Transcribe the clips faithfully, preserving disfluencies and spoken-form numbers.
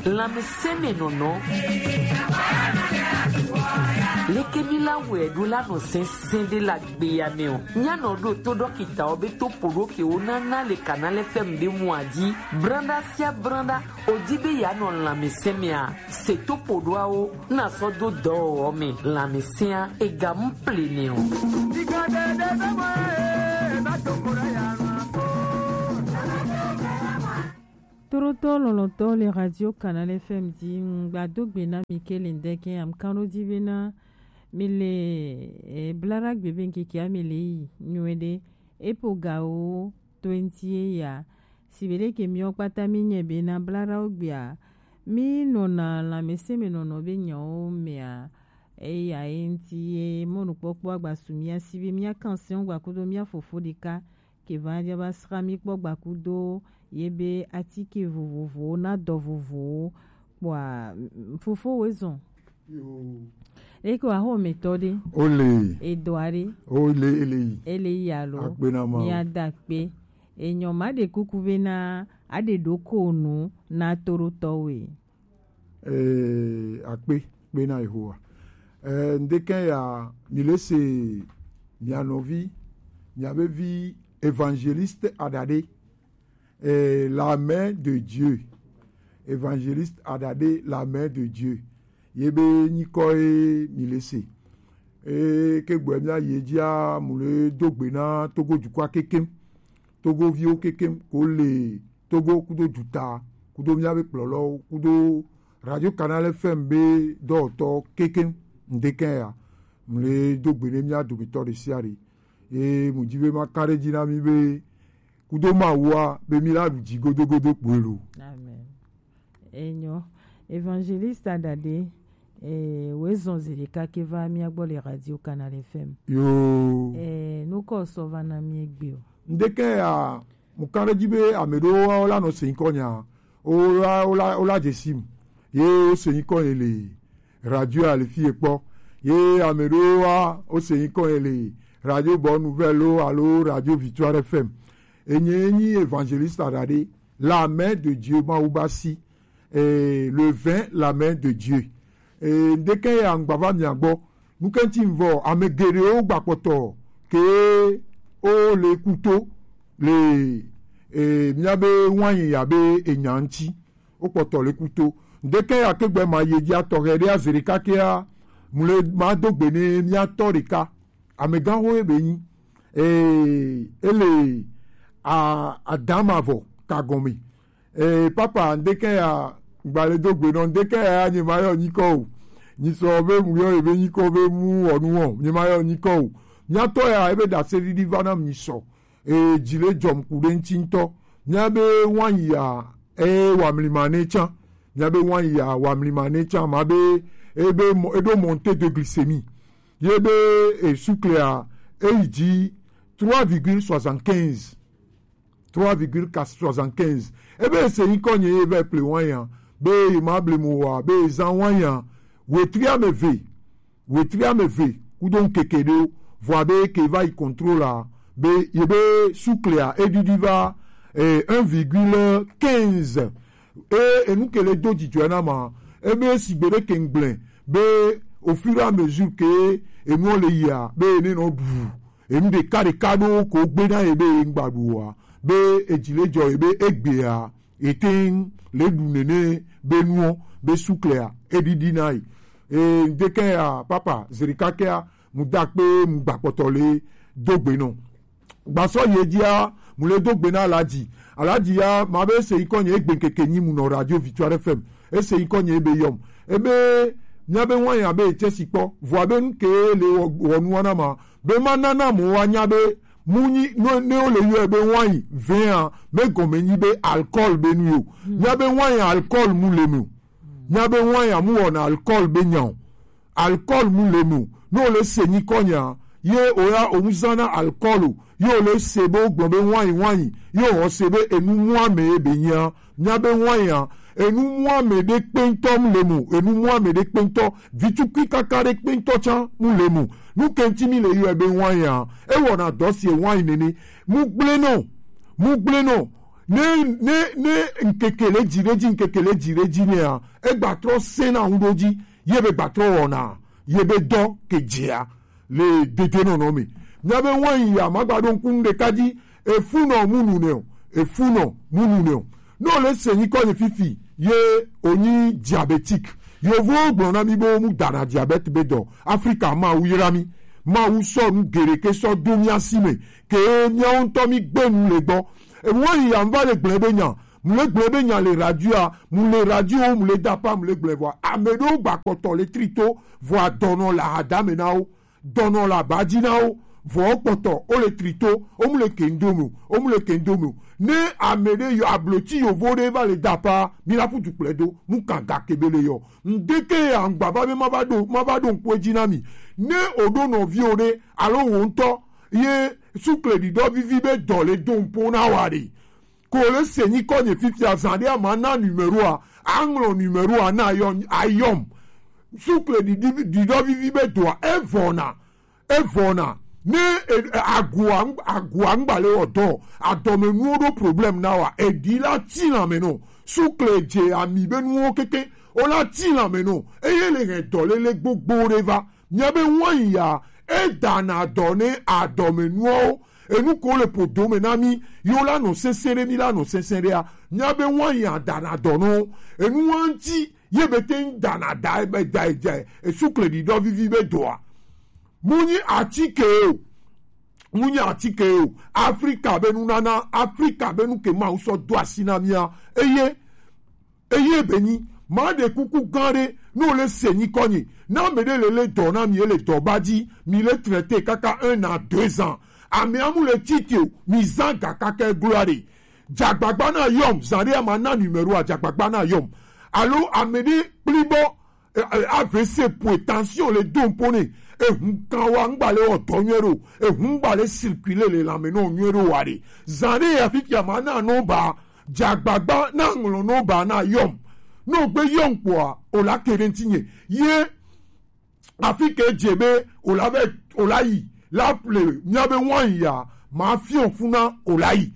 Lanmɛsɛnmɛnɔnɔ. Leke mi la wɛ ɖo la nɔ sɛnsɛn ɖe la gbeya mɛ o. Mia nɔ ɖo to ɖɔkita ɔ be to poɖo ke wo nana le kana lɛ fɛm ɖe mu aji. Branda sia branda, o di be ya nɔ lanmɛsɛnmɛa. Se to poɖoawo na sɔ do dɔ ɔ mɛ lanmɛsɛnmɛa ega mu ple nɛ o. Torotɔ lɔlɔtɔ le Radio Canal F M di ŋgba do gbe na mi ke le ŋdɛkɛ amkanɖo di be na mi le e, bla ɖa gbe be ŋkeke a mi le yi nyuie ɖe e po ga wo twenty ye ya si be ɖe ke miɔ kpata mi nyɛ be na bla ɖa wo gbea mi nɔna lanmɛsɛnmɛnɔnɔ be nyawo mɛa eya ye ŋti ye mɔnukpɔkpɔ agbasu mia si be mia kan sɛn gba kudo mia fofo ɖeka ke va ja va sra mi kpɔ gbakudo ye be atike vovovowo na dɔ vovowo kpɔa. Fofo we zɔn. Eko ahomɛtɔ ɖe. Ole. Edɔa ɖe. Ole ele yi. Ele yi alo. Akpe na ma. Mia da kpe. Enyɔ ma ɖe kuku be na aɖe ɖo ko nu na toɖotɔwe. Eh, akpe kpe na Yehowa. Eh, ŋdekɛ ya mi le se mia nɔvi, mia be vi Évangéliste Adade, eh, la main de Dieu. Évangéliste Adade, la main de Dieu. Ye be nyikɔ ye mi le se. Eh, ke gbɔɛ mia ye dzia mu le do gbe na Togo dukɔa kekem. Togoviwo kekem ko le Togo kudo duta kudo miabe kplɔlɔwo kudo Radio Canal F M be dɔwɔtɔ kekem ŋdekɛ ya mle do gbe ne mia dometɔ ɖe sia ɖe. Ye mu dzi be ma ka ɖe dzi na mi be kudo Mawua be mi la ɖu dzi godogodo kpoe lo. Amen. Enyo. Évangéliste Adade, eh, we zɔn zi ɖeka ke va mia gbɔ le Radio Canal F M. Yo. Eh, nukɔ sɔ va na mi egbe o. Ŋdekɛ ya mu kan ɖe dzi be ame ɖewo wa wo la nɔ se nyikɔ nya, wo la wo la wo la dze sim ye wo se nyikɔ ye le radio a le fi ye kpɔ ye ame ɖewo wa wo se nyikɔ ye le Radio Bonne Nouvelle o alo Radio Victoire F M. Enye nyi Évangéliste Adade, la main de Dieu Mawu ba si, eh, le vingt la main de Dieu. Eh, ŋdekɛ ya ŋgba va mia gbɔ. Nukɛnti ŋvɔ ame geɖewo gba kpɔtɔ ke o le kuto le eh, miabe wanyi ya be enya ŋti. Wo kpɔtɔ le kuto. Ŋdekɛ ya ke gbɛ ma ye dzi atɔ hɛ ɖe azere kakea mu le ma do gbe ne mia tɔ ɖeka. Amegãxo ye be nyi. Eh, ele a adama vɔ ka gɔme. Eh, papa ŋdekɛ ya gbale do gbe nɔ ŋdekɛ ya nye ma yɔ nyikɔ o. Nyi sɔ be mu yɔ ebe nyikɔ be mu wɔnu wɔ nye ma yɔ nyikɔ o. Miatɔ ya ebe da se ɖiɖi va na mi sɔ. Eh, dzi le dzɔm ku ɖe ŋti ŋtɔ. Miabe wanyi ya eh wa mlima ne tsã. Miabe wanyi ya wa mlima ne tsã ma be ebe mɔ- eɖo monte de glycémie. Ye be eh, suklea eyi dzi trois virgule soixante-quinze. Trois virgule soixante-quinze. Ebe ese nyikɔ nye ye va ple wanya be ye ma ble mo wa be ye zan wanya wetri ame ve wetri ame ve kudo ŋkeke ɖewo vɔa be ke va yi contrôle a be ye be suklea eɖiɖi va eh, un virgule quinze. E enu ke le do dzidzɔe na ma ebe sigbe ɖe ke ŋgblẽ be au fur et à mesure ke enuɔ le yia be ene nɔ ɖu enu ɖeka ɖeka ɖewo ko gbe na ye be ye ŋgba ɖu oa be edzi le dzɔ ye be egbea ete ŋ le ɖu nene be nuɔ be suklea eɖiɖi na yi. E ŋdekɛ ya papa zerikakea mu da kpe mu gba kpɔtɔ le do gbe nɔ. Gbasɔ ye dzia mu le do gbe na alaji. Alaji ya ma be ese yi kɔ nye egbe keke nyi mu nɔ radio Victoire F M. Ese yi kɔ nye ebe yɔm. Ebe mia be wan ya be etse si kpɔ. Vɔa be nu ke le wɔ wɔ nua na ma. Be ma na na mo wa nya be mu nyi no ne o le yɔ be wan yi vea me gɔme nyi be alcool be nu yo. Mia be wan ya alcool mu le me o. Mia be wan ya mu wɔna alcool be nya o. Alcool mu le me o. Ne o le se nyikɔ nya ye o ya o mu zana alcool o. Ye o le se be o gblɔ be wanyi wanyi ye o se be enu mu ame ye be nya. Mia be wanyi a enu mu ame ɖe kpeŋtɔ mu le me o. Enu mu ame ɖe kpeŋtɔ vitukui kaka ɖe kpeŋtɔ tsã mu le me o. Nu ke ŋti mi le yɔe be wanyi a e wɔna dɔ si e wanyi nene. Mu gblẽ nɔ mu gblẽ nɔ Ne ne ne ŋkeke le dzi ɖe dzi, ŋkeke le dzi ɖe dzi nɛa, egba trɔ sɛna ŋu ɖo dzi, ye be gba trɔ wɔna ye be dɔ ke dzea le dedenɔnɔ me. Mía be wain ya magba ɖo ŋku nu ɖeka dzi, efunɔ mu nu nɛ o, efunɔ mu nu nɛ o. Ne o le se nyikɔ nye fifi ye o nyi diabétique. Yovowo gblɔ na mi be wo mu dana diabète be dɔ. Afrika, Mawu yra mi. Mawu sɔ nu geɖe ke sɔ do mía si me ke míawo ŋutɔ mi gbe nu le gbɔ. Ewa yi ya ŋva le gblẽ be nya, mu le gblẽ be nya le radioa, mu le radiowo, mu le dapa, mu le gblẽ vɔa, ame ɖewo gba kpɔtɔ le trito vɔa dɔnɔ le ahadame na wo, dɔnɔ le abadzi na wo, vɔ wo kpɔtɔ wo le trito, wo mu le kendo me o, wo mu le kendo me o. Ne ame ɖe yɔ ablotsi yovo ɖe va le dapa, mi la ƒu du kplɔe do, mu kan ga ke be le yɔ. Ŋdeke ya ŋgba va be ma va ɖo, ma va ɖo ŋku edzi na mi. Ne o ɖo nɔviwo ɖe alo wo ŋutɔ ye sukle ɖiɖɔ vivi be dɔ le do ŋpo na wa ɖe. Ko le se nyikɔ nye fifia, zã ɖe ama na numéro a, aŋlɔ numéro a na yɔ ayɔm. Sukle ɖiɖi ɖiɖɔ vivi be doa evɔna, evɔna. Ne e- e- agua ŋ- agua ŋgba le wɔ dɔ, adɔmenuwo ɖo problème na wa, eɖi la ti lãme nɔ. Sukle dze ami be nuwo keke, o la ti lãme nɔ, eye le hɛn dɔléle gbogbo ɖe va. Mía be wain ya, e dana dɔ ne adɔmenuwo, enu ko le podo me na mi, yo la nɔ sɛnsɛn ɖe, mi la nɔ sɛnsɛn ɖe a. Mía be wain ya dana dɔ nɔ, enu wa ŋti ye be te ŋ dana da be da da e sukle ɖiɖɔ vivi be dɔa. Mu nyi atike o, mu nyi atike o. Afrika be nunana, Afrika be nu ke Mawu sɔ do asi na mía, eye eye be nyi, ma ɖe kuku gã ɖe, ne o le se nyikɔ nye, ne ame ɖe le le dɔ na mi, ele dɔ ba dzi, mi le traité kaka un à deux ans. Ame amu le tite o, mi zã ga kaka egloa ɖe. Dzagbagba na yɔm, zã ɖe ama na numéro a, dzagbagba na yɔm. Alo ame ɖe kpli bɔ, e- e- A V C poe, tension le do ŋpo ne, ehun kan wa ŋgba le wɔ dɔ nyuie ɖo, ehun ŋgba le circuler le lãme nɔ nyuie ɖo wa ɖe. Zã ɖe ya fifia ma na nɔ ba, dzagbagba na ŋlɔ nɔ ba na yɔm. Nɔ gbe yɔm kpɔa, o la ke ɖe ŋti nye. Ye afi ke dze be o la vɛ, o la yi, la ple mía be wain ya, ma fiɔ funa o la yi.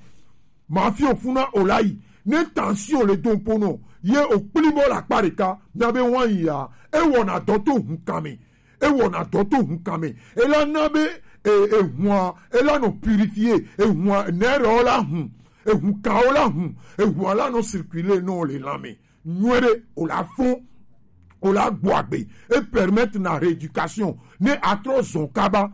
Ma fiɔ funa o la yi. Ne tension le do ŋpo nɔ, ye o kpli bɔ le akpa ɖeka, mía be wain ya, e wɔna dɔ to hun kan me. E wɔna dɔ to hun kan me. E la na be e- ehua, e la nɔ purifier, ehua nɛ ɖewo la hun, ehun kanwo la hun, ehua la nɔ circuler nɔ le lãme nyuie ɖe, o la fɔn, o la gbɔ agbe, e permettre na rééducation, ne a trɔ zɔn kaba,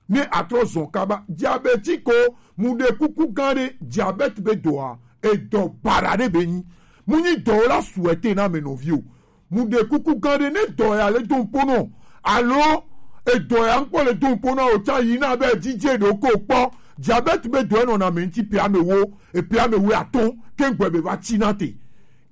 ne a trɔ zɔn kaba. Diabète ko, mu ɖe kuku gã ɖe, diabète be dɔa, edɔ baɖa ɖe be nyi. Mu nyi dɔ la souhaiter na me nɔvi o. Mu ɖe kuku gã ɖe, ne dɔ ya le do ŋpo nɔ, alo edɔ ya ŋkpɔ le do ŋpo na o tsa yi na be dzidze ɖo ko kpɔ. Diabète be dɔ enɔ na me ŋti pe ame wo, epe ame wo atɔn, ke gbɛ be va tsi na te.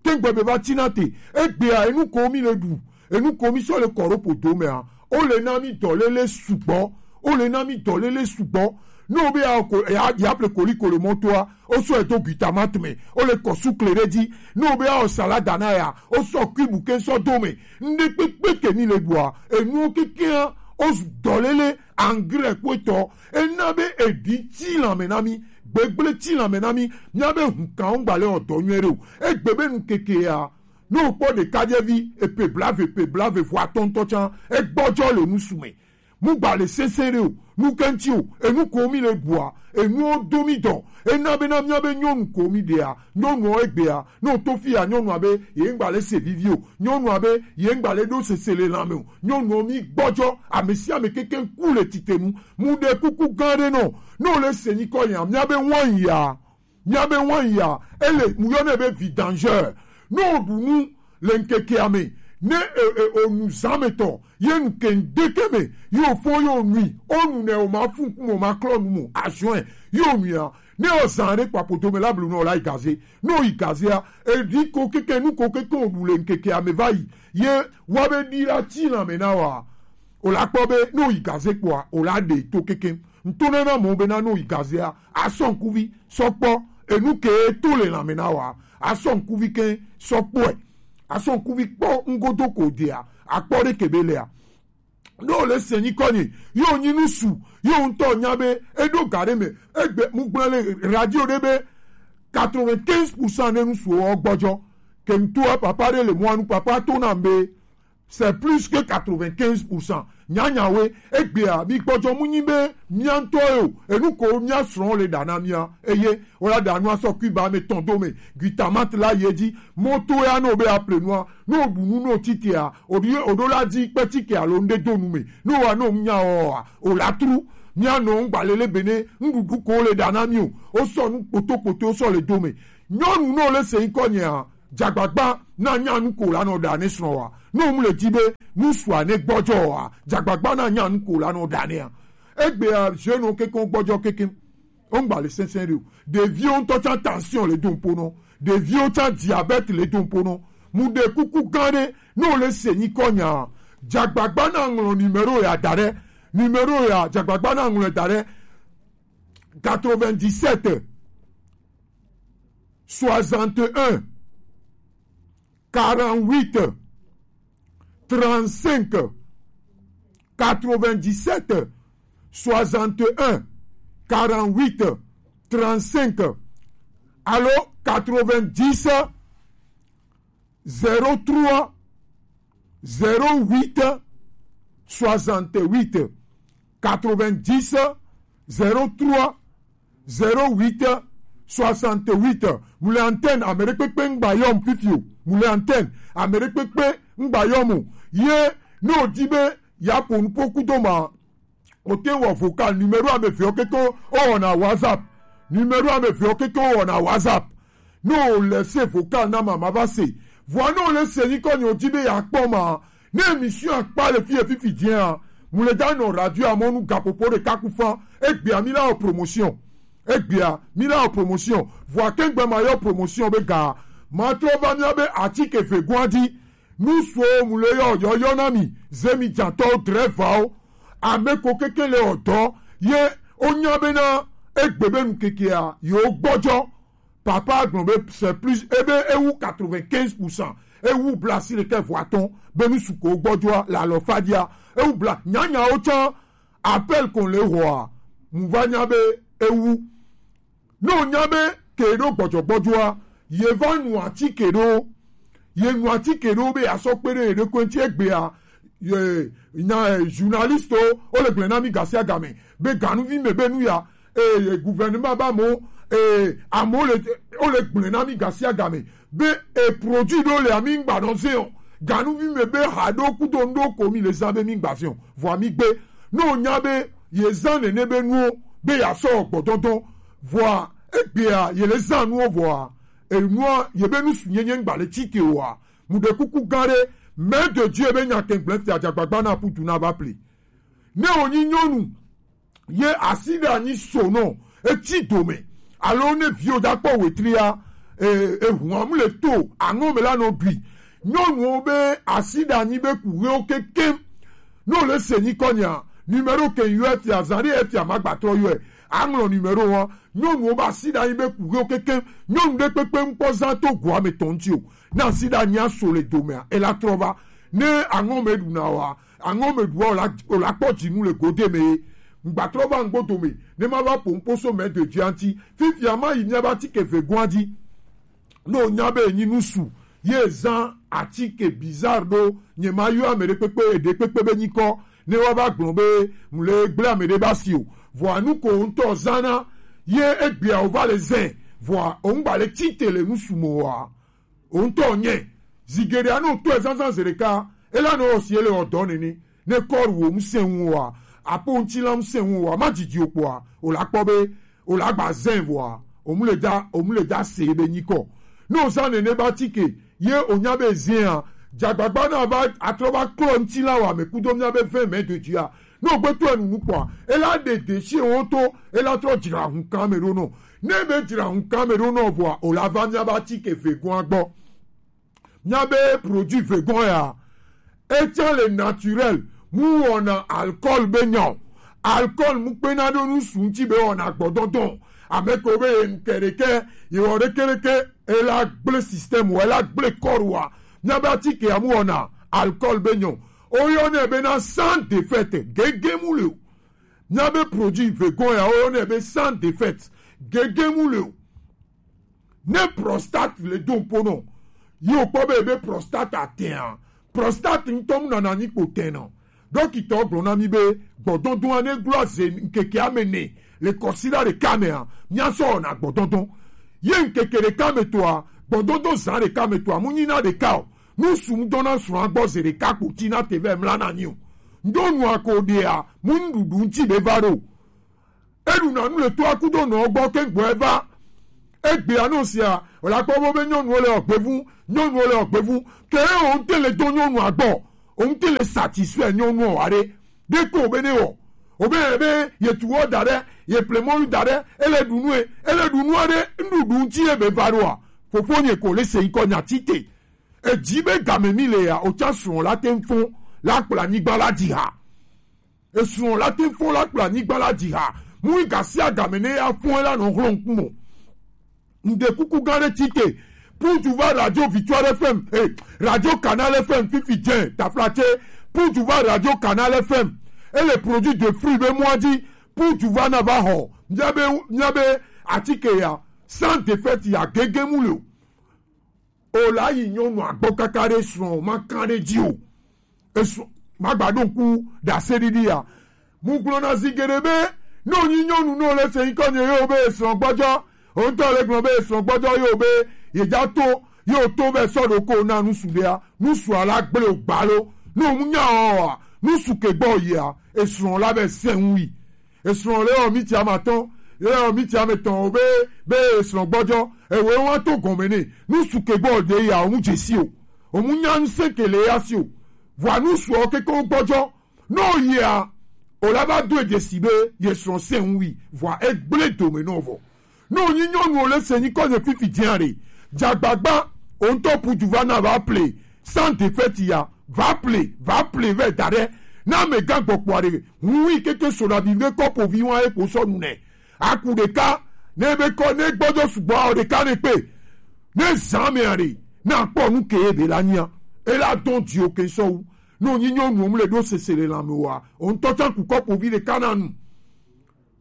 Ke gbɛ be va tsi na te. Egbea enu ko mi le ɖu, enu ko mi sɔ le kɔ ɖo podo mea, o le na mi dɔléle sugbɔ, o le na mi dɔléle sugbɔ. Ne o be ya ko ya ya ple koliko le mɔtoa, o sɔ edo glutamate me, o le kɔ sukle ɖe dzi. Ne o be ya wɔ salada na ya, o sɔ cube ke sɔ do me. Ŋɖe kpekpe ke mi le ɖua, enuwo kekea, o dɔléle engrais kpetɔ, ena be eɖi tsi lãme na mi, gbegble tsi lãme na mi, mía be hun kan ŋgba le wɔ dɔ nyuie ɖe o. Egbe be nu kekea, ne o kpɔ ɖekadzevi, epe blave, pe blave vɔ atɔntɔ tsa, egbɔdzɔ le nusu me. Mu gba le sɛnsɛn ɖe o, nu ke ŋti o, enu ko mi le ɖua, enuwo do mi dɔ, ena be na mía be nyɔnu ko mi ɖea, nyɔnuɔ egbea, ne o to fi ya, nyɔnua be ye ŋgba le se vivi o, nyɔnua be ye ŋgba le ɖo sese le lãme o, nyɔnuɔ mi gbɔdzɔ, ame sia ame keke ku le titenu, mu ɖe kuku gã ɖe nɔ, ne o le se nyikɔ ya, mía be wain ya, mía be wain ya, ele mu yɔ ne be vidangeur. Ne o ɖu nu le ŋkekea me, ne e- e- o nu zã me tɔ, ye nu ke ŋdeke me, ye o fɔ ye o nui, o nu nɛ o ma fu ŋkume o ma klɔ nu mo, azuɛ, ye o nuia, ne o zã ɖe kpapo do me la blu ne o la yi gaze, ne o yi gazea, eɖi ko keke nu ko keke o ɖu le ŋkekea me va yi, ye wa be ɖi la tsi lãme na wa. O la kpɔ be ne o yi gaze kpɔa, o la ɖe to keke. Ŋtonana mɔ be na ne o yi gazea, a sɔ ŋkuvi sɔ kpɔ enu ke to le lãme na wa, a sɔ ŋkuvi ke sɔ kpɔe, a sɔ ŋkuvi kpɔ ŋgodo ko dea, a kpɔ ɖe ke be lea. Ne o le se nyikɔ nye, ye o nyi nu su, ye o ŋutɔ nya be e ɖo ga ɖe me, egbe mu gblɔ le radio ɖe be Quatre-vingt-quinze pour cent ne nusu wo gbɔjɔ. Ke ŋutɔ papa ɖe le mɔa nu, papa to na be c'est plus que quatre-vingt-quinze pour cent. Nyanyawe, egbea, mi gbɔjɔ mu nyi be mia ŋutɔ ye o, enu ko mia srɔ̃ le ɖa na mia. Eye, o la ɖa nua sɔ Cuba me tɔn do me, glutamate la ye dzi, moto ya no be aple nua, no ɖu nu no titea, o ɖi, o ɖo la dzi kpe tike alo ŋɖe do nu me, no wa no nya o wa, o la tru, mia nɔ ŋgba lele bene, ŋɖuɖu ko le ɖa na mi o, o sɔ nu kpoto kpoto o sɔ le do me. Nyɔnu no le se ŋkɔ nyea, dzagbagba na nya nu ko la nɔ ɖa ne srɔ̃ wa. No mu le dzi be, nu sua ne gbɔjɔ wa, dzagbagba na nya nu ko la nɔ ɖa ne a. Egbea, je no keke gbɔjɔ keke. O ŋgba le sɛnsɛn ɖe o. Ɖeviwo ŋutɔ tsã tension le do ŋpo nɔ. Ɖeviwo tsã diabète le do ŋpo nɔ. Mu ɖe kuku gã ɖe, no le se nyikɔ nya. Dzagbagba na ŋlɔ numéro ya da ɖe. Numéro ya, dzagbagba na ŋlɔ da ɖe. Quatre-vingt-dix-sept, soixante et un, quarante-huit, trente-cinq, quatre-vingt-dix-sept, soixante et un, quarante-huit, trente-cinq, alo quatre-vingt-dix, zéro trois, zéro huit, soixante-huit, quatre-vingt-dix, zéro trois, zéro huit, soixante-huit. Mu le antenne, ame ɖe kpekpe ŋgba yɔm fifi o. Mu le antenne, ame ɖe kpekpe ŋgba yɔm o. Ye, ne o di be ya ƒo nuƒo kudo ma, o te wɔ vocal, numéro ame eve o keke o wɔna WhatsApp. Numéro ame eve o keke o wɔna WhatsApp. Ne o le se vocal na ma, ma va se. Vɔa ne o le se nyikɔ nye o di be ya kpɔ ma, ne émission akpa le fi ye fifi dzia, mu le da nɔ radio amɔnu gaƒoƒo ɖeka ku fa. Egbea mi la wɔ promotion. Egbea mi la wɔ promotion. Vɔa kengbe ma yɔ promotion be ga. Ma trɔ va mia be atike vegoa di. Nu so mu le yɔ yɔyɔ na mi. Ze mi dzatɔ drɛvawo. Ame ko keke le ɔdɔ. Ye o nya be na egbe be nu kekea, yo gbɔjɔ. Papa gblɔ be c'est plus, ebe ewu quatre-vingt-quinze pour cent. Ewu blasi ɖekɛ vɔ atɔ̃, be nu suko gbɔjɔa, le alɔfadia. Ewu bla, nyanyawo tsã, appel ko le hoa, mu va nya be ewu. Ne o nya be ke ɖo gbɔjɔgbɔjɔa, ye va nu atike ɖo. Ye nu atike ɖo be asɔ kpe ɖe ye ɖokui ŋuti egbea. Ye, nya, eh, journaliste o, o le gblẽ na mi gasiagame. Be ganuvi me be nu ya, eh, gouvernement ba mo, eh, amo le, o le gblẽ na mi gasiagame. Be, eh, produit ɖo le ami ŋgba nɔ ze o. Ganuvi me be ha ɖo kudo ŋɖo ko mi le zã be mi ŋgba ze o. Vɔa mi gbe. Ne o nya be, ye zã nene be nuwo, be ya sɔ gbɔdɔdɔ. Vɔa, egbea, ye le zã nuwo vɔa. Enua, ye be nu su nyenye ŋgba le tike oa. Mu ɖe kuku gã ɖe, Mère de Dieu be nya kɛn gblẽ fia dzagbagba na putu na va pli. Ne wònyi nyɔnu, ye asi ɖe anyi so nɔ, etsi dome, alo ne viwo dza kpɔ wetria, e, ehun amu le to, aŋɔ me la nɔ ɖui. Nyɔnuwo be asi ɖe anyi be kuɣewo kekem. Ne wòle se nyikɔ nya, numéro ke yɔ efia, zã ɖe efia ma gba trɔ yɔe. Aŋlɔ numéro wa. Nyɔnuwo be asi ɖe anyi be kuɣewo kekem. Nyɔnu ɖe kpekpe ŋkpɔ zã to goa me tɔn ŋuti o. Ne asi ɖe anyi aso le domea, ela trɔ va. Ne aŋɔ me ɖuna wa, aŋɔ me ɖua o la, o la kpɔ dzinu le gode me ye. Ŋgba trɔ va ŋgbo dome, ne ma va ƒo ŋkposo mɛ de dzia ŋuti. Fifia ma yi mía be atike vegoa dzi. Ne o nya be enyi nusu, ye zã atike bizarre ɖo, nye ma yɔ ame ɖe kpekpe, eɖe kpekpe be nyikɔ, ne wa va gblɔ be mu le gblẽ ame ɖe ba si o. Vɔa nu ko ŋutɔ zana, ye egbea o va le zɛ, vɔa o ŋgba le tite le nusu mo wa. O ŋutɔ nye, zi geɖea ne o tɔe zazã zi ɖeka, ela nɔ wɔ si ele wɔ dɔ nene. Ne kɔr wo ŋusẽ ŋu wa, apo ŋutilã ŋusẽ ŋu wa, ma dzidzi o kpɔa, o la kpɔ be, o la gba zẽ vɔa, o mu le da, o mu le da se be nyikɔ. Ne o zã nene ba tike, ye o nya be zẽa, dzagbagba na va, atrɔ va klɔ ŋutilã wa me kudo mía be vẽ mɛ do dzia. Ne o gbe tɔe nunu kpɔa, ela ɖe de si wo to, ela trɔ dzra hun kan me ɖo nɔ. Ne be dzra hun kan me ɖo nɔ vɔa, o la va mía ba tike vegoa gbɔ. Mía be produit vegan ya, etsã le naturel, mu wɔna alcool be nya o. Alcool mu kpena ɖo nusu ŋuti be wɔna gbɔdɔdɔ. Ame ko be ye ŋkɛ ɖekɛ, ye wɔ ɖeke ɖeke, ela gblẽ système wa, ela gblẽ corps wa. Mía be atike ya mu wɔna alcool be nya o. O yɔnɛ be na sans défaite, gege mu le o. Mía be produit vegan ya, o yɔnɛ be sans défaite, gege mu le o. Ne prostate le do ŋpo nɔ, yi wokpɔ be ebe prostate atɛn a, prostate ŋutɔ mu nana nyi kpo tɛn nɔ. Dɔkitɔ gblɔ na mi be gbɔdɔdɔa ne gblɔ ze ŋkeke ame ne le kɔsiɖa ɖeka me a, mia sɔ wɔna gbɔdɔdɔ. Ye ŋkeke ɖeka me tɔa, gbɔdɔdɔ zã ɖeka me tɔa, mu nyina ɖeka o. Nu su ŋdɔ na srɔ̃a gbɔ ze ɖeka kpo ti na te vɛ mla na nyi o. Ŋdɔ nua ko ɖea, mu nuɖuɖu ŋti be va ɖo. Eɖuna nu le toa kudo nɔ gbɔ ke gbɔ eva. Egbea no sia, wòle akpɔ be nyɔnuwo le ɔgbevu, nyɔnuwo le ɔgbevu. Ke o ŋte le do nyɔnua gbɔ, o ŋte le satisfait nyɔnua wa ɖe. Ɖe ko be ne wɔ. O be be ye tu wɔ da ɖe, ye ple mɔlu da ɖe, ele ɖu nue, ele ɖu nua ɖe, nuɖuɖu ŋti ye be va ɖoa. Fofo nye ko le se ŋkɔ nya ti te. Edzi be game mi le ya, o tsa srɔ̃ la te ŋfɔ, la kplɔ anyigba la dzi ha. Esrɔ̃ la te fɔ la kple anyigba la dzi ha. Mu yi gasia game ne ya fɔe la nɔ hlɔ̃ ŋkume. Ŋde kuku gã ɖe ti te. Pour tu va radio Victoire F M, eh, radio Canal F M fifi dze taflatse. Pour tu va radio Canal F M. Et les produits de fruits be mɔa dzi. Pour tu va na va xɔ. Mia be, mia be atike ya. Sans défaite ya gege mu le o. O la yi nyɔnua gbɔ kaka ɖe srɔ̃ ma kan ɖe dzi o. Esrɔ̃ ma gba ɖo ŋku ɖase ɖiɖi ya. Mu gblɔ na zi geɖe be, ne wonyi nyɔnu ne wole se nyikɔ nye yewo be esrɔ̃ gbɔdzɔ, o ŋutɔ le gblɔ be esrɔ̃ gbɔdzɔ yewo be yedza to, yewo to be sɔ ɖo ko na nusu ɖea, nusua la gble o gbalo. Ne wo mu nya o a, nusu ke gbɔ yia, esrɔ̃ la be sɛnwi. Esrɔ̃ le wɔ miti amatɔn, le wɔ miti ametɔn o be, be esrɔ̃ gbɔdzɔ, ewe wa to gɔme ne, nusu ke gbɔ de ya, o mu dzesi o, o mu nya nuse ke le ya si o, vɔa nusu o keke wo gbɔdzɔ, no yia, o la va do dzesi be, ye srɔ̃ se ŋui, vɔa egble dome no vɔ. Ne wonyi nyɔnu wole se nyikɔ nye fifi dzia ɖe, dzagbagba, o ŋutɔ puju va na va ple, sans défaite ya, va ple, va ple vɛ da ɖe. Ne amegã gbɔkpɔa ɖe, hu yi keke so ɖabi be kɔpovi wa ye kpo sɔ nu nɛ. Aku ɖeka, ne be kɔ, ne gbɔdzɔ sugbɔ o ɖeka ne kpe. Ne zã mea ɖe, na kpɔ nu ke be la nyia. E la dɔn dzi o ke sɔ wu. Ne wonyi nyɔnu wo mu le ɖo sese le lãme wa, o ŋutɔ tsa ku kɔpovi ɖeka na nu.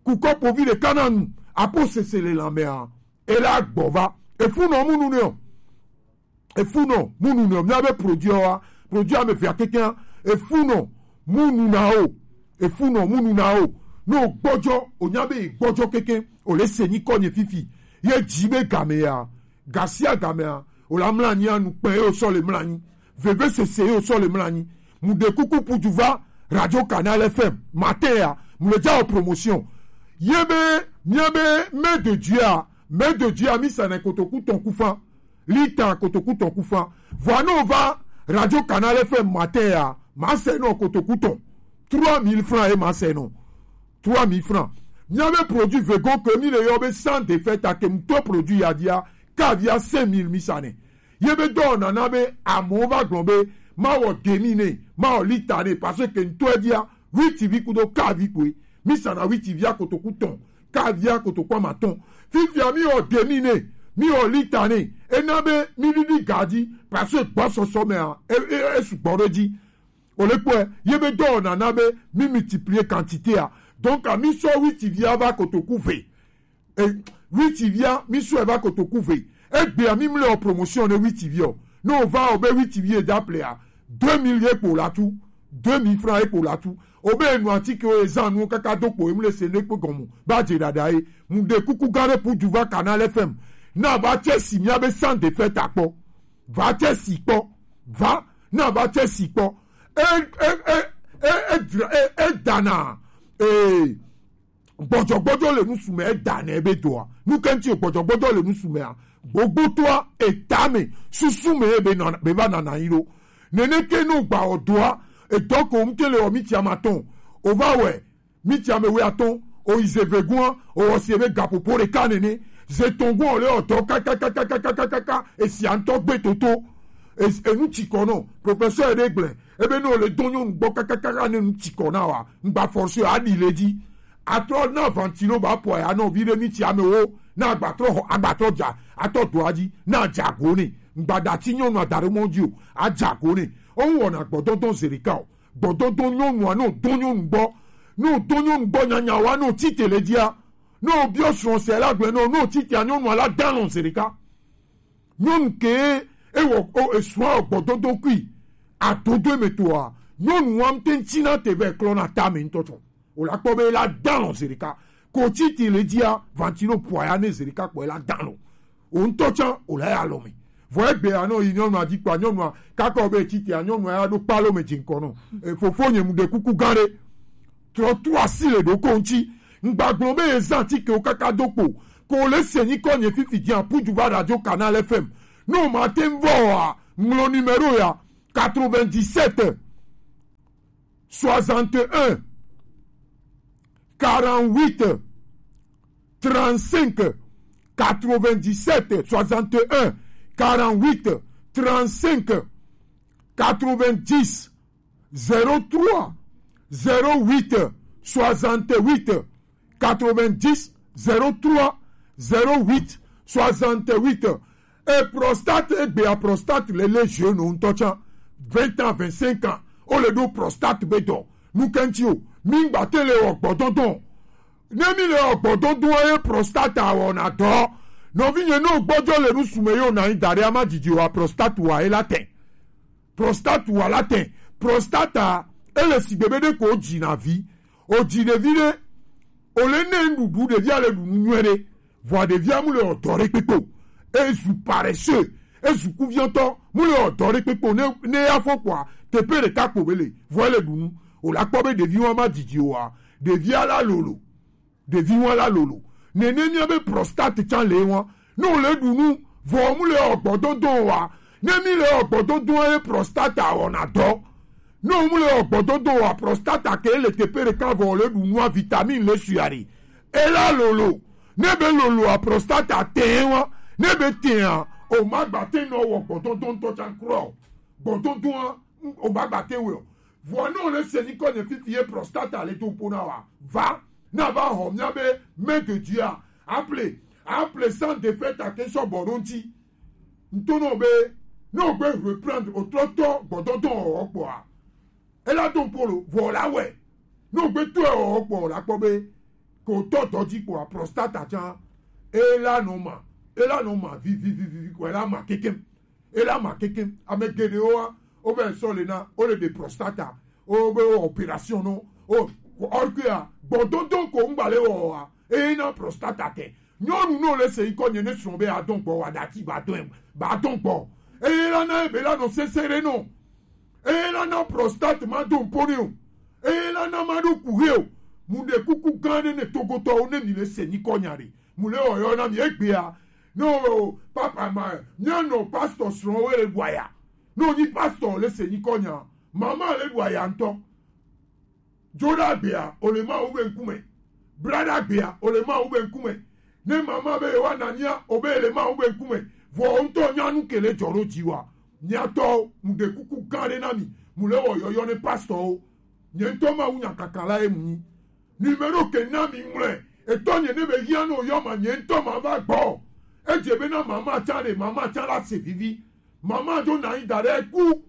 Ku kɔpovi ɖeka na nu, apo sese le lãmea, e la gbɔ va. Efu nɔ mu nu nɛ o. Efu nɔ mu nu nɛ o. Mia be produit wa, produit ame via kekea, efu nɔ mu nu na o. Efu nɔ mu nu na o. No gbɔdzɔ, o nya be gbɔdzɔ keke, o le se nyikɔ nye fifi. Ye dzi be game ya. Gasia gamea, o la mla anyi anu kpɛ ye o sɔ le mla anyi. Veve sese ye o sɔ le mla anyi. Mu ɖe kuku puju va Radio Canal F M. Matin ya, mu le dza o promotion. Ye be, mia be, Mère de Dieu a, Mère de Dieu a, mi sa na kotoku tɔn kufa. Lita kotoku tɔn kufa. Vɔa no va Radio Canal F M matin ya, ma se no kotoku tɔn. Trois mille francs e ma se no. Trois mille francs. Mia be produit vegan ke mi le yɔ be sans défaite a ke mu to produit ya dia, ka via cinq mille mi sa nɛ. Ye be dɔ nana be amewo va gblɔ be, ma wɔ demi ne, ma wɔ lita ne, parce que ŋtɔ dia, huit vi kudo ka vi koe. Mi sa na huit via kotoku tɔn, ka via kotoku amatɔn. Fifia mi wɔ demi ne, mi wɔ lita ne, e na be mi ɖiɖi ga dzi, parce que gbɔsɔsɔ me a, e, e, e sugbɔ ɖe dzi. O le kpɔe, ye be dɔ nana be mi multiplier quantité a. Donc, a mi sɔ huit via va kotoku ve. E, huit via, mi sɔ e va kotoku ve. Egbea mi mle o promotion ne huit via o. Ne o va o be huit via e da ple a, deux mille ye kpo la tu. Deux mille francs ye kpo la tu. O be nu atike o e zan nu kaka do kpo e mle se ne kpo gɔmu. Ba je dada e. Mu ɖe kuku gã ɖe puju va Canal F M. Na va tse si mia be sans défaite a kpɔ. Va tse si kpɔ. Va, na va tse si kpɔ. E, e, e, e, e dra-, e, e dana. E, gbɔdzɔgbɔdzɔ le nusu me, e dana ebe doa. Nu ke ŋti gbɔdzɔgbɔdzɔ le nusu mea, gbogbotoa, eta me, susu me, ebe nɔ, be va nana yi ɖo. Neneke no gba o doa, edɔ ko ŋte le o mi tia ma tɔn. O va wɛ, mi tia me we atɔn, o yi ze ve gua, o wɔ si ebe gapopo ɖeka nene. Ze tɔn gua o le o dɔ kakakakakakaka, esi antɔ gbe toto. Es-, enu tsi kɔ nɔ. Professeur ɖe gblẽ. Ebe ne o le dɔ nyɔnu gbɔ kakakaka ne nu tsi kɔ na wa, ŋgba forcer a ɖi le dzi. Atrɔ na ventilo ba pɔ ya nɔ vi ɖe mi tsi ame wo. Na agbatrɔ xɔ, agbatrɔ dza, atɔ do adzi, na dza go ne. Ŋgba da tsi nyɔnu ada ɖe mɔ dzi o, adza go ne. O ŋ wɔna gbɔdɔdɔ ze ɖeka o. Gbɔdɔdɔ nyɔnua, ne o dɔ nyɔnu gbɔ, ne o dɔ nyɔnu gbɔ nyanya wa, ne o tsi te le dzia, ne o biɔ srɔ̃ se la gblẽ, ne o, ne o tsi te a nyɔnua la da lɔn ze ɖeka. Nyɔnu ke ewɔ o esua gbɔdodo kui adodo eme toa, nyɔnu wa ŋutɛ ŋuti na te vɛ klɔ na ta me ŋutɔ tsɔ. O la kpɔ be la dalɔ zerika. Ko titi le dzia, vantino pua ya ne zerika kpɔ la dalɔ. O ŋutɔ tsã o la ya lɔ me. Vɔ egbe ya nɔ yi nyɔnua dzi kpɔ nyɔnua kaka o be titi ya nyɔnua ya ɖo kpalo me dzi ŋkɔ nɔ. E, fofo nye mu ɖe kuku gã ɖe. Trɔ tu asi le ɖoko ŋuti. Ŋgbagblɔ be ezã tikewo kaka do kpo. Ko le se nyikɔ nye fifi dzi apudu va radio Canal F M. No ma te ŋvɔ a, ŋlɔ numéro ya quatre-vingt-dix-sept soixante et un quarante-huit trente-cinq, quatre-vingt-dix-sept soixante et un quarante-huit trente-cinq, quatre-vingt-dix zéro trois zéro huit soixante-huit quatre-vingt-dix zéro trois zéro huit soixante-huit. E prostate, egbe a prostate le le jeune ŋutɔ tsã, vingt ans, vingt-cinq ans, o le ɖo prostate be dɔ. Nu ke ŋuti o, mi ŋgba te le wɔ gbɔdɔdɔ. Ne mi le wɔ gbɔdɔdɔ ye prostate wɔna dɔ. Nɔvinye, ne o gbɔjɔ le nusume yo na yi da ɖe ama dzidzi wa prostate wa ye la te. Prostate wa la te. Prostate ele sigbe be ɖe ko o dzi na vi. O dzi ɖevi ɖe, o le ne nuɖuɖu ɖevia le ɖu nu nyuie ɖe. Vɔa ɖevia mu le wɔ dɔ ɖe kpekpe o. Ezu paresseux, ezu kuviɔtɔ, mu le wɔ dɔ ɖe kpekpe o. Ne, ne ya fɔ kpɔa, teƒe ɖeka kpo be le, vɔ ele ɖu nu. O la kpɔ be ɖevi wa ma dzidzi o wa, ɖevia la lolo. Ɖevi wa la lolo. Nene mia be prostate tsã le wa. Ne o le ɖu nu, vɔ mu le wɔ gbɔdɔdɔ wa. Ne mi le wɔ gbɔdɔdɔ ye prostate wɔna dɔ. Ne o mu le wɔ gbɔdɔdɔ wa, prostata ke le teƒe ɖeka vɔ o le ɖu nua, vitamine le suyari. E la lolo. Ne be lolo a prostata te wa. Ne be te a, o ma gba te nɔ wɔ gbɔdɔdɔ ŋutɔ tsã kura o. Gbɔdɔdɔa, o ma gba te wɛ o. Vɔ ne o le se nyikɔ nye fifi ye prostata le do ƒo na wa. Va, na va xɔ mia be main de Dieu a. Appelez, appelez sans défaite à ke sɔ bɔ ɖo ŋuti. Ŋutɔ nɔ be, ne o gbe reprendre o trɔ tɔ gbɔdɔdɔ wɔwɔ kpɔa, e la do ŋpo lo, vɔ la wɛ. Ne o gbe tɔ wɔwɔ kpɔ la kpɔ be, ko tɔ dɔ dzi kpɔa, prostata tsã, e la nɔ ma, e la nɔ ma vivivivi kɔ, e la ma kekem, e la ma kekem. Ame geɖewoa, o vɛ sɔ le na, o le ɖe prostata, o be o opération nɔ, o, or que a, gbɔdɔdɔ ko ŋgba le wɔwɔa, e na prostata te. Nyɔnu ne o le se nyikɔ nye ne srɔ̃ be adɔn gbɔ wa dati ba dɔn, ba dɔn gbɔ. Eye la na ebe la nɔ sese ɖe nɔ. Eye la na prostate ma do ŋpo ne o. Eye la na ma ɖo ku he o. Mu ɖe kuku gã ɖe ne togotɔwo ne mi le se nyikɔ nya ɖe. Mu le wɔyɔ na mi egbea. No, papa ma, mia nɔ pastor srɔ̃ wo le ɖu aya. No nyi pastor le se nyikɔ nya. Mama le ɖu aya ŋutɔ. Dzo ɖe agbea, o le Mawu be ŋkume. Bla ɖe agbea, o le Mawu be ŋkume. Ne mama be yewoana mia, o be le Mawu be ŋkume. Vɔ o ŋutɔ nya nu ke le dzɔ ɖo dzi wa. Miatɔ, mu ɖe kuku gã ɖe na mi. Mu le wɔ yɔyɔ ne pastorwo. Nye ŋutɔ Mawu nya kaka la ye mu nyi. Numéro ke na mi ŋlɔe. Etɔ nye ne be hia no yɔ ma nye ŋutɔ ma va gbɔ. Edze be na mama tsã ɖe, mama tsã la se vivi. Mama dzo na anyi da ɖe ku.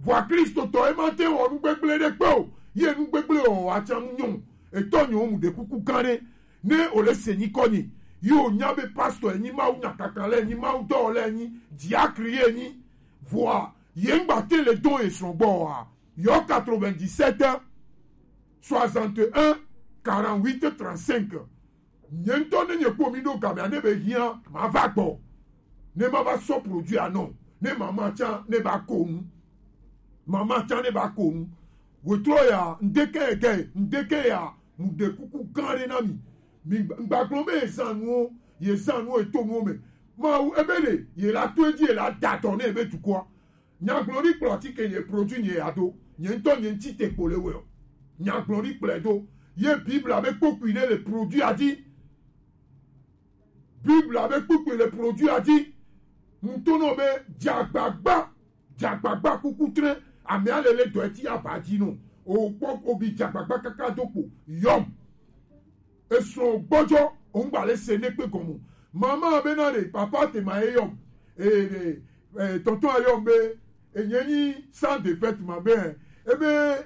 Vɔa Kristotɔ ye ma te wɔ nu gbegblẽ ɖe kpe o. Ye nu gbegblẽ wɔ wɔ atsa nu nyɔ. Etɔ nyɔ mu ɖe kuku gã ɖe. Ne o le se nyikɔ nyi. Ye o nya be pastor enyi, Mawu nya kaka le enyi, Mawu dɔ le enyi, diakri ye enyi. Vɔa ye ŋgba te le dɔn ye srɔ̃ gbɔ wa. Yɔ quatre-vingt-dix-sept soixante et un quarante-huit trente-cinq. Nye ŋutɔ ne nye kpɔ mi ɖo gamea ne be hia ma va gbɔ. Ne ma va sɔ produit anɔ. Ne mama tsã ne ba ko nu. Mama tsã ne ba ko nu. Wetrɔ ya, ŋdeke ege, ŋdeke ya, mu ɖe kuku gã ɖe na mi. Mi gba-, ŋgba gblɔ be ye zã nuwo, ye zã nuwo, ye to nuwo me. Mawu, ebe le, ye la to edzi, ye la da dɔ ne ebe dukɔa. Nyagblɔɖi kplɔ atike nye produit nye ya do. Nye ŋutɔ nye ŋuti te kpo le wɛ o. Nyagblɔɖi kplɔe do. Ye Biblia be kpokpui ɖe le produit a dzi. Biblia be kpokpui le produit a dzi. Ŋutɔ nɔ be dzagbagba, dzagbagba kuku tre. Amea le le dɔ eti aba dzi no. O kpɔ obi dzagbagba kaka do kpo. Yɔm. Esrɔ̃ gbɔdzɔ, o ŋgba le se ne kpe gɔme o. Mama be na ɖe, papa te ma ye yɔm. E, e, e, tɔntɔn a yɔm be, enye nyi sans défaite ma be, ebe,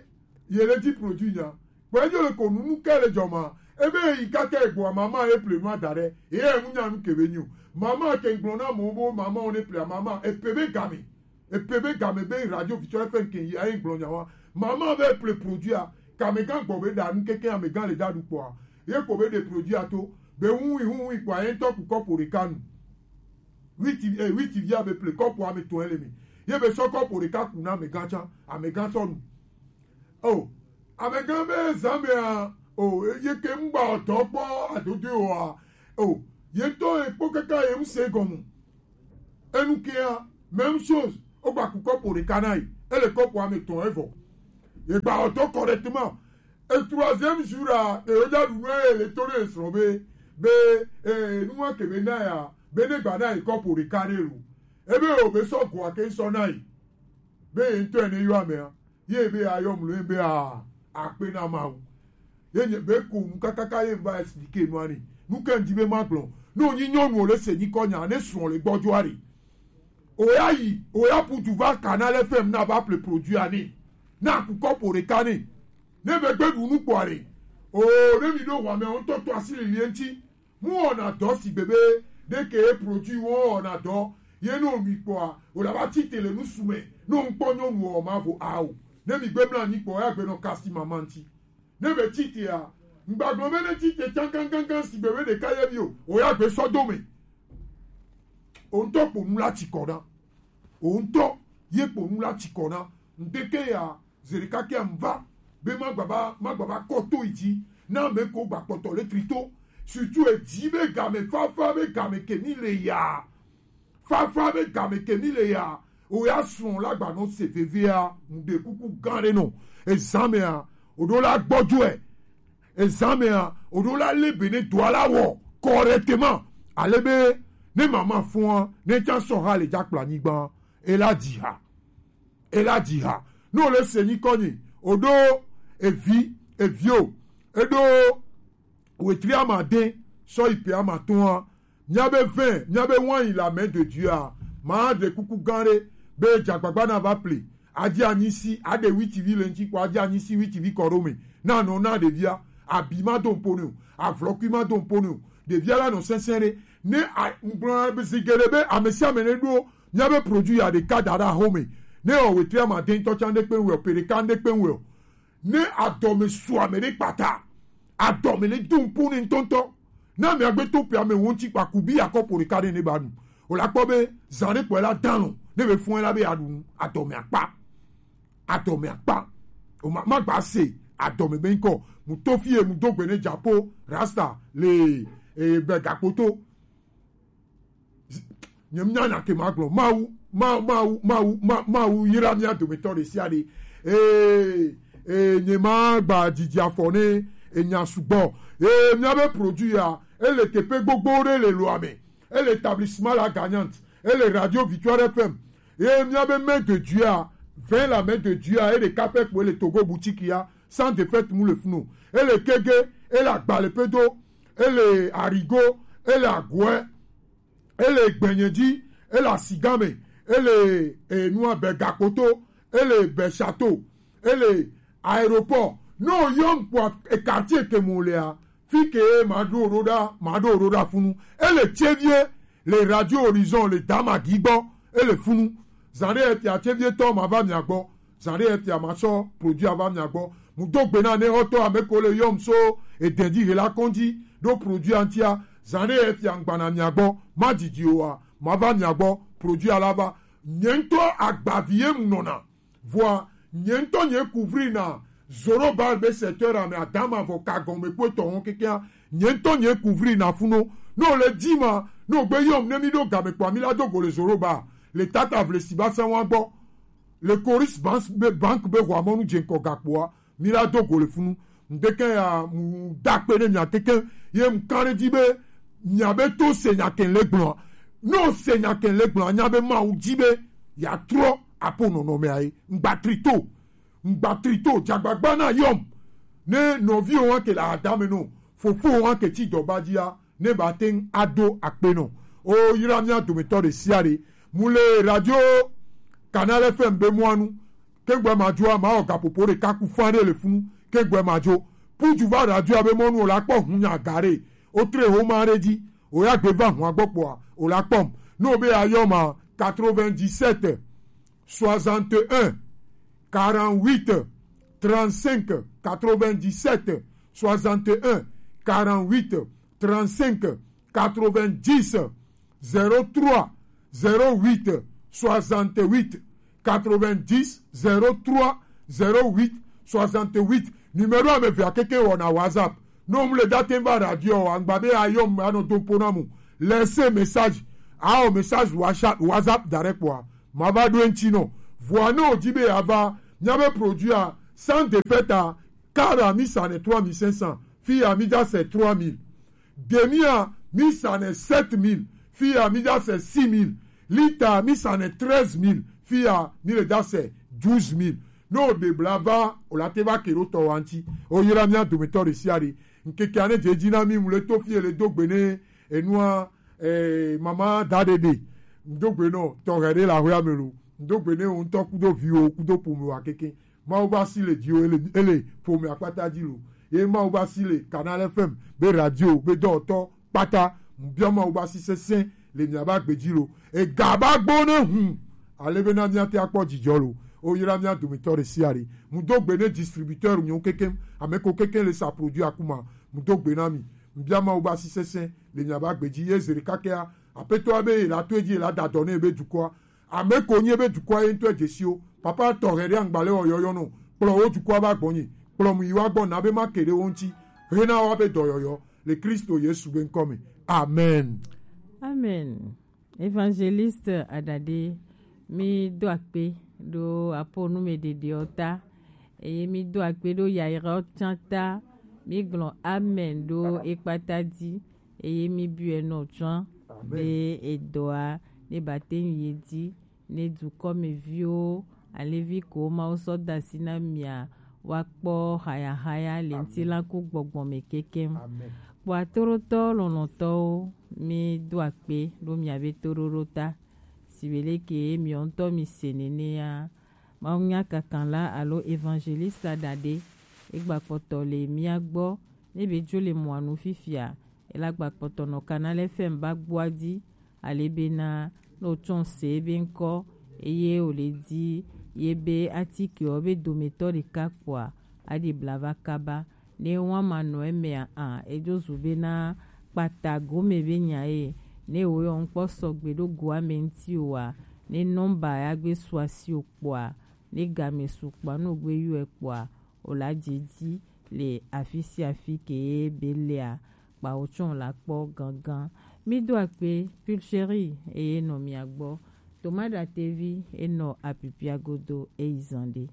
ye le di produit nya. Kpɔ enyo le ko nunu ke le dzɔ ma, Ebe yi kaka egboa mama e ple nu ada ɖe. Eye enu nya nu ke be nyo. Mama ke gblɔ na mo bo mama o ne ple mama e pe be game. E pe be game be radio Victoria F M ke yi ayi gblɔ nya wa. Mama be ple produit a. Ka amegã gbɔ be ɖa nu keke amegã le ɖa ɖu kpɔa. Ye ko be ɖe produit a to. Be hu hu hu kpɔa ye ŋutɔ ku kɔpo ɖeka nu. Witi, eh, witi via be ple kɔpo ame tɔn ele mi. Ye be sɔ kɔpo ɖeka ku na amegã tsa. Amegã sɔ nu. O, amegã be zã mea, o, ye ke ŋgba ɔdɔ kpɔ adodo oa. O, ye ŋutɔ ye kpɔ kaka ye ŋse gɔmu. Enu kea, même chose, o gba ku kɔpo ɖeka na yi. Ele kɔpo ame tɔn evɔ. Ye gba ɔdɔ correctement. E troisième jour a, e o ja ɖu nu e le to ɖe srɔ̃ be, be, e, nu wa ke be na ya, be ne gba na yi kɔpo ɖeka ɖe lo. Ebe o be sɔ go ake sɔ na yi. Be ye ŋutɔ ne yɔ amea. Ye be ayɔm lo be a akpe na Mawu. Ye nye be ko nu kakaka ye va expliquer nu ani. Nu ke ŋdi be ma gblɔ. No nyi nyɔnu o le se nyi kɔ nya ne srɔ̃ le gbɔdzo ari. O ya yi, o ya putu va Canal F M na va ple produit ani. Na ku kɔpo ɖeka ni. Ne be gbe ɖu nu kpɔ ari. O ne mi ɖo wa me o ŋutɔ to asi lili ŋti. Mu wɔna dɔ si gbebe ɖe ke ye produit wo wɔna dɔ ye no mi kpɔa o la va tite le nusu me no ŋkpɔ nyɔnu wɔ ma vo ao ne mi gbe mla nyi kpɔ ya gbe nɔ kasi mama ŋti ne be tite a ŋgbagblɔ be ne tite tsankankankan si gbebe ɖeka ye bi o o ya gbe sɔ do me o ŋutɔ kpo nu la tsi kɔ na o ŋutɔ ye kpo nu la tsi kɔ na ŋdeke ya Zerikakia ŋva be magbava magbava kɔ to yi dzi na ame ko gba kpɔtɔ le trito surtout edzi be game fafa be game ke mi le ya fafa be game ke mi le ya o ya srɔ̃ la gba nɔ se vevea ŋde kuku gã ɖe nɔ ezã mea o ɖo la gbɔdzɔe ezã mea o ɖo la le be ne doa la wɔ correctement ale be ne mama fɔa ne tsa sɔ ha le dza kplɔ anyigba e la dzi ha e la dzi ha. Ne wòle se nyikɔ nyi, wòɖo evi, evi o, eɖo wetri amade sɔ yi pe amatɔ̃a. Míabe vin, míabe wine la main de Dieu a, ma ɖe kuku gã ɖe be dzagbagba na va ple. Adi anyi si, aɖe witivi le ŋuti kpɔ, adi anyi si witivi kɔ ɖo me. Na nɔ na ɖevia, abi ma do ŋpo ne o, avlɔkui ma do ŋpo ne o. Ɖevia la nɔ sɛnsɛn ɖe. Ne a ŋgblɔ be zi geɖe be ame sia ame ne ɖo míabe produit ya ɖeka da ɖe axome. Ne ewɔ wetri amade ŋutɔ tsa ŋɖe kpe ŋu o, pe ɖeka ŋɖe kpe ŋu o. Ne adɔme su ame ɖe kpata, adɔme ne do ŋpo ne ŋutɔŋutɔ. Ne ame agbe to pe ame wo ŋuti kpa kubi akɔpo ɖeka ɖe ne ba nu. O la kpɔ be zã ɖe kpɔe la dan lɔ, ne be fɔe la be aɖu nu, adɔme akpa. Adɔme akpa. O ma, ma gba se adɔme be ŋkɔ. Mu to fie mu do gbe ne dzapo, rasta, le, e, be gakpoto. Nye mnya nya ke magblɔ. Mawu, Mawu, Mawu, Mawu, Ma-, Mawu yra mía dometɔ ɖe sia ɖe. Ee, ee, nye magba didi afɔ ne enya sugbɔ. Ee, míabe produit ya, ele teƒe gbogbo ɖe le loa me. Ele établissement La Gagnante. Ele Radio Victoire F M. Ye míabe main de Dieu a, vin la main de Dieu a, ele kape kpo ele Togo boutique ya, sans défaite mu le funu. Ele kege, ele agba le pedo, ele arigo, ele agoɛ, ele gbenye dzi, ele asigame, ele enua be gakpoto, ele be château, ele aéroport. No yɔm kwa e quartier ke mo lea, fi ke ma ɖo ɖo ɖa, ma ɖo ɖo ɖa funu. Ele tsevie le Radio Horizon le Damagi gbɔ, ele funu. Zã ɖe etia tsevie tɔ ma va mia gbɔ. Zã ɖe etia ma sɔ produit ava mia gbɔ. Mu do gbe na ne xɔtɔ ame ko le yɔm so eden dzi hela kɔndzi ɖo produit antia. Zã ɖe etia ŋgbana mia gbɔ. Ma didi oa, ma va mia gbɔ. Produit ala va. Nye ŋutɔ agbavi ye mu nɔna. Vɔa, nye ŋutɔ nye couvrir na Zorobal be secteur ame adama vɔ ka gɔme kpɔtɔ hɔn kekea. Nye ŋutɔ nye couvrir na funo. No le di ma, no gbe yɔm ne mi ɖo game kpɔa, mi la do go le Zorobal. Le tata vle si ba sa wa gbɔ. Le Coris Bank be, bank be hwa mɔnu dze ŋkɔ gakpoa, mi la do go le funu. Ŋdeke ya mu da kpe ne mia keke, ye mu kan ɖe dzi be mia be to se nya ke le gblɔa. No se nya ke le gblɔa, nya be Mawu dzi be ya trɔ apo nɔnɔme aye. Ŋgba trito, ŋgba trito, dzagbagba na yɔm. Ne nɔviwo wa ke le adame no, fofowo wa ke tsi dɔba dzia, ne ba te ŋu aɖo akpe nɔ. O yra mía dometɔ ɖe sia ɖe. Mu le radio Canal F M be mɔa nu. Ke gbɛ ma dzo a, ma wɔ gaƒoƒo ɖeka ku fã ɖe le funu. Ke gbɛ ma dzo. Kuju va radio abe mɔnu o la kpɔ hun nya gare. O tre ho ma re di. O ya gbe va hun agbɔ kpɔa. O la kpɔm. No be ayɔ ma quatre-vingt-dix-sept, soixante et un, quarante-huit, trente-cinq, quatre-vingt-dix-sept, soixante et un, quarante-huit, trente-cinq, quatre-vingt-dix, zéro trois, zéro huit, soixante-huit, quatre-vingt-dix, zéro trois, zéro huit, soixante-huit. Numéro a me vea keke wɔ na WhatsApp. No mu le date va radio angba be ayɔ mu ano do pona mu. Laissez message. Ao message WhatsApp, WhatsApp direct kwa. Ma va do enti no. Voix no di be ava. Nya be produit a sans défaite a. Car a mi sa ne trois mille cinq cents. Fi a mi ja se trois mille. Demi a mi sa ne sept mille. Fi a mi ja se six mille. Lita a mi sa ne treize mille. Fi a mi le ja se douze mille. No de blava o la te va kero to wanti. O yira mi a do me to de siari. Nkeke ane je ji na mi mu le to fi ele do gbe ne enua eh, mama dadede. Ndogbe no to gere la hoya melu. Ndogbe ne un to kudo vio kudo pomo akeke. Ma o ba si le dio ele ele pomo akpata di lo. E ma o ba si le Canal F M be radio be do to pata. Mbia ma o ba si sese le mi aba gbe di lo. E gaba gbo ne hun. Ale be na mi ate akpɔ dzidzɔ lo. O yira mi a do me to de siari. Mu do gbe ne distributeur mi o kekem. Ame ko kekem le sa produit akuma. Mu do gbe na mi. Mbia ma o ba si sese le mi aba gbe di ye zere kakea. Apetɔ be la to di la da dɔ ne be dukɔa. Ame ko nye be dukɔa ye ntɔ je si o. Papa to gere angba le o yɔyɔ no. Kplɔ o dukɔa ba gbɔ nyi. Kplɔ mu yi wa gbɔ na be ma kere o nti. Hena wa be dɔyɔyɔ. Le Kristo Yesu be nkɔ me. Amen. Amen. Évangéliste Adade, mi do akpe do apo nu me dede o ta. Eye mi do akpe do yayra o tsan ta. Mi gblɔ amen do ekpata di. Eye mi biɔ nɔ tsɔn be edɔa ne ba te ye di ne dukɔmeviwo alevi ko Mawu sɔ da asi na mia wa kpɔ hayahaya le ŋutilanku gbɔgbɔ me kekem. Kpɔ atorotɔ lɔlɔtɔwo, mi do akpe ɖo mia be toɖoɖo ta. Sibe leke miɔ ŋutɔ mi se nenea, Mawu nya kakan la alo évangéliste Adade, egba kpɔtɔ le mia gbɔ, ne be dzo le mɔa nu fifia, ela gba kpɔtɔ nɔ Canal F M ba gbɔa di, ale bena ne wotsɔ se ebe ŋkɔ, eye wòle di ye be atikewo be dometɔ ɖeka kpɔa, aɖi blava kaba. Ne wa ma nɔ emea a, edzo zu bena kpata gome be nya ye. Ne wo yɔ ŋkpɔ sɔgbe ɖo goa me ŋuti oa, ne nɔmba ya gbe su asi o kpɔa, ne game su kpɔa, ne wogbe yɔe kpɔa, wòla dze dzi le afi sia afi ke ye be lea, kpawo tsɔ la kpɔ gangan. Mi do akpe, Pulchérie eye nɔ mia gbɔ. Toma Ɖatevi enɔ apipia godo eyi zan ɖe.